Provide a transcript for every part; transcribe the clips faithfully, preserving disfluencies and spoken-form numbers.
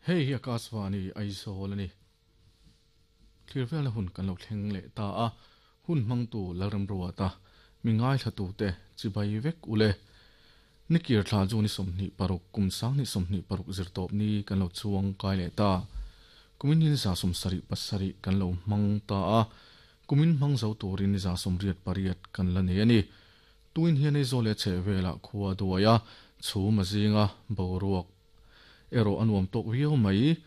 Hei hi Akashvani Aizawl ani. Thlir hun kan lo thleng leh ta a, hun hmangtu Lalramruata ta mi ngai thlatu te chibai vek ule. Nikir thla chu ni sawmhnih paruk kum sang ni sawmhnih paruk zir tawp ni kan lo chuang kai leh ta. Kumin hin za sawm sarih pasarih kan lo hmang ta a, kumin hmang zo turin ni za sawmriat pariat kan la nei ani. Tuin hian Aizawl leh chheh velah khua duai a, chhum a zinga boruak ero anuam tok viau mai.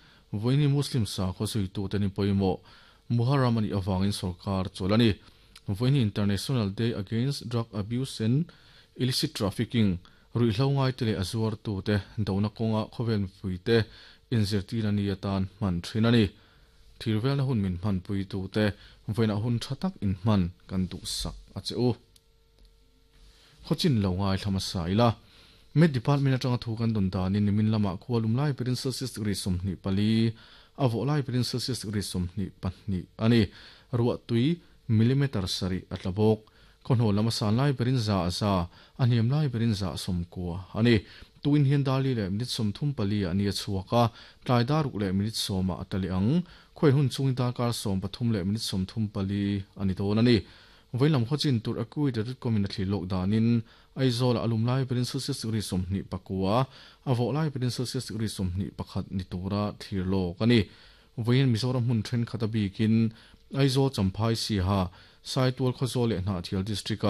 Voini Muslim sa khaw zui tu te ni pawimawh Muharram ani awangin sarkar chawlani. Voini International Day Against Drug Abuse and Illicit Trafficking ruihhlo ngai te leh a zuar tu te dona kawnga khawvel mipui te inzirtir ani atan hman thin ani. Thir velna hun min hman pui tu te voina hun tha tak in hman kan duh sak a che u. Khawchin lo ngai thlama sa ila. Met Department atanga thu kan don danin nimin lama khualum lai perin Celsius degree sawmhnih pali a vawh lai perin Celsius degree sawmhnih pahnih ani. Ruah tui millimeter sarih a tla bawk. Khawhnaw lama san lai perin za za a hniam lai perin za sawmkua ani. Tuin hian dali leh minute sawmthum pali ani a chhuak a, tlai daruk leh minute sawma a tali ang. Khawi hun chung darkar sawm pathum leh minute sawmthum pali ani dawn ani. Voilam khawchin tur akui dot com in a thli lok danin Aizawl alum lai perin Celsius degree sawmhnih pakua a vawh lai perin Celsius degree sawmhnih pakhat ni tura thlir lawk ani. Voiin Mizoram hmun then khata bikin Aizawl Champhai Siha Saitual Khawzawl leh Hnahthial district a